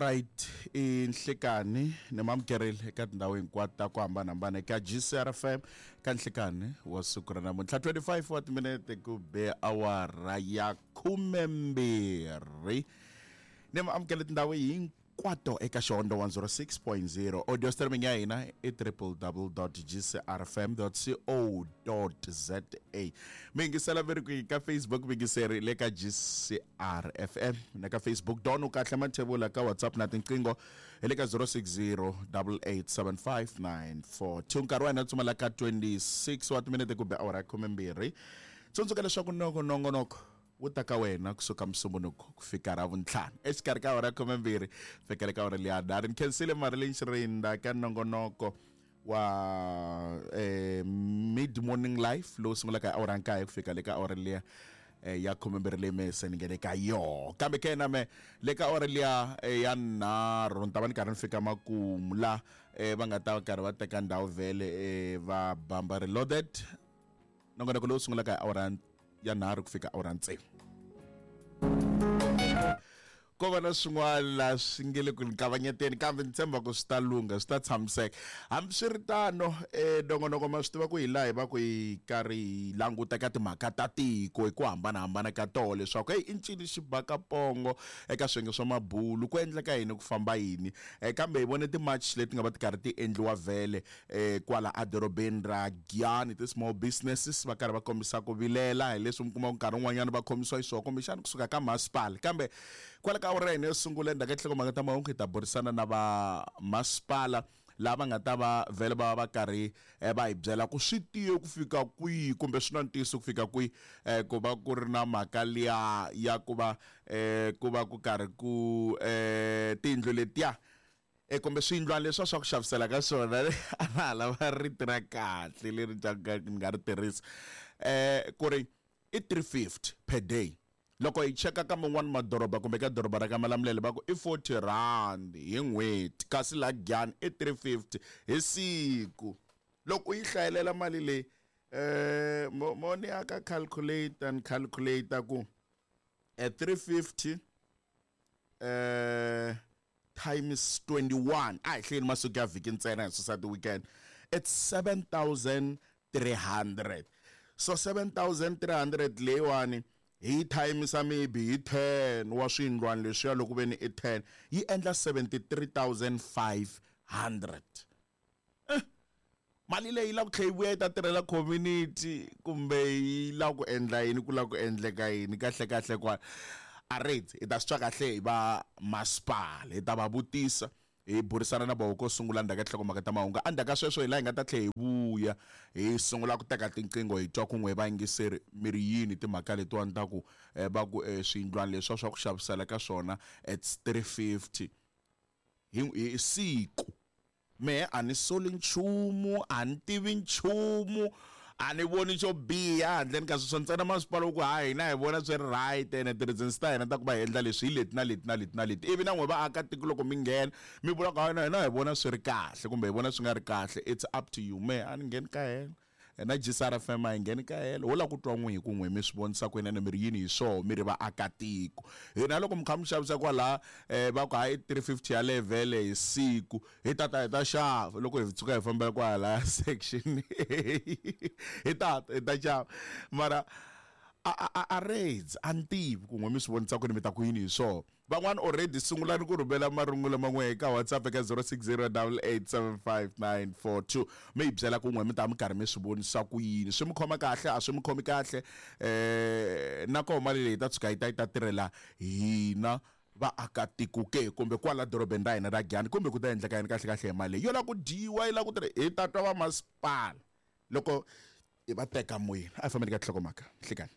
Alright, i nhlikani ni mamukerile eka tindhawu hinkwato ta ku hambanahambana eka GCRFM ka nhlikani wa siku ra namuntlha 25 wa timinete ku be awara ya khumembirhi ni maamukele tindhawu hinkwato eka Xihondzo 106.0 audio streaming ya hina i www.gcrfm.co.za mi yingisela mi ri kwihi ka Facebook mi yingiseri le ka GCRFM na ka Facebook don u kahle mathevula ka WhatsApp na tinqingho hi le ka 060 8875942 nkarhi wa hina tsumela ka 26 wa timinete kumbe awara ya khumembirhi tsundzuka leswaku nongo nongonoko wu ta ka wena kusuka musumbunuko ku fika ra vuntlhanu exikarhi ka awara ya khumembirhi fikele ka awara liya nharhu ni khensile Marilyn Xirinda ka nongonoko wa eh, mid morning life lowu sungulaka hi awara ya nkaye ku fika le ka awara liya eh, ya khumembirhi leyi me se ni nge le ka yoho kambe ke na me le ka awara liya eh, ya nharhu ni ta va ni karhi ni fika makumu la eh, va nga ta karhi va teka ndhawu vhele eh, va bamba reloaded nongonoko lowu sungulaka hi awara ya nharhu ku fika awara tsevu ko va na swin'wana laha swi nge le ku ni kavanyeteni kambe ni tshemba ku swi ta lungha swi ta tshamiseka hambiswiritano um nongonoko ma swi tiva ku hi laha hi va ku hi karhi hi languta ka timhaka ta tiko hi ku hambanahambana ka toho leswaku heyi i ncini xi baka pongo eka swiyenge swa mabulu ku endleka yini ku famba yini um kambe hi vone ti-march leti nga va ti karhi ti endliwa vhele eh, kwala edorobeni ra Giyani ti-small businesses va karhi va kombisa ku vilela hi leswi mi kuma ku nkarhi wun'wanyana va khomisiwa xiswona kumbexana kusuka ka masipala kambe kwala ka awara ya hina yo sungula endzhaku ka tinhlokomhaka ta mahungu hi ta burisana na va masipala lava nga ta va vhele va va karhi eh, va hi byela ku swi tiye ku fika kwihi kumbe swi na ntiyiso ku fika kwihi eh, ku va ku ri na mhaka liya ya ku va eh, ku va ku karhi ku eh, tiyindlu letiya E kumbe swiyindlwana leswiya swa ku xavisela ka swona a na ha lava rito ra kahle leri ni nga ri tirhisa um ku ri i 350 per day loko hi cheka ka man'wani madoroba kumbe ka doroba ra ka Malamulele va ku i 40 rand hi n'hweti kasi la Giyani i 350 hi siku loko u yi hlayelela mali leyi um mo ni ya ka calculator ni calculator ku e 350 um times 21 a hi hlayeni masiku ya vhiki ntsena hi susa ti-weekend it's 7300 so 7300 leyiwani hi yi thayimisa maybe hi 10 wa swiyindlwana leswiya loko ve ni i 10 yi endla 73500 eh, mali leyi yi lava ku tlhela yi vuya yi ta tirhela community kumbe yi lava ku endla yini ku lava ku endleka yini kahle kahle kwala a ri hi ta swi twa kahle hi va masipala hi ta va vutisa hi burisana na voho ko sungula ndzhaku ka tinhlokomhaka ta mahungu endzhaku ka sweswo hi laha hi nga ta tlhela hi vuya hi sungula ku teka tinqingho hi twa kun'we hi vayingiseri mi ri yini timhaka letiwani ta ku eh, va ku eh, swiyindlwana leswiya swa ku xavisela ka swona it's 350 hi hi siku Mehe a ni soli nchumu, a ni tivi nchumu, a ni voni xo biha handleni ka sweswo ntsena masipala wu ku ha hina hi vona swi ri right ene ti-reasons ta hina ta ku va hi endla leswi hi leti na leti na leti na leti ivi na n'we vaakatiko loko mi nghena mi vula ku hayi hina hi vona swi ri kahle kumbe hi vona swi nga ri kahle it's up to you mehe a ni ngheni ka helo na GCRFM a yi ngheni ka helo ho lava ku twa n'wi hi ku n'wi mi swi vonisa ku yini mi ri yini hi swoho mi ri vaakatiko hina loko mi kha mi xavisa kwalaha um va ku hayi 350 ya levhele hi siku hi tata hi ta xava loko hi tshuka hi fambela kwala section hi tata hi ta xava mara a a a raids a ni tivi ku n'we mi swi vonisa ku ni mi ta ku yini hi swona Van'wana already sungulani ku rhumela marungula man'we eka WhatsApp eka 0608875942 mi hi byela ku n'we mi ta mi karhi mi swi vonisa ku yini swi mi khoma kahle a swi mi khomi kahle eh na koho mali leyi ta tshuka yi ta yi ta tirhela hina vaakatiko ke kumbe kwala dorobeni ra hina ra Giyani kumbe ku ta endleka yini kahle kahle hi mali leyi yo lava ku dyiwa yi lava ku tirha hi ta twa vamasipala loko hi va teka moyeni a hi fambeni ka nhlokomhaka nhlikani.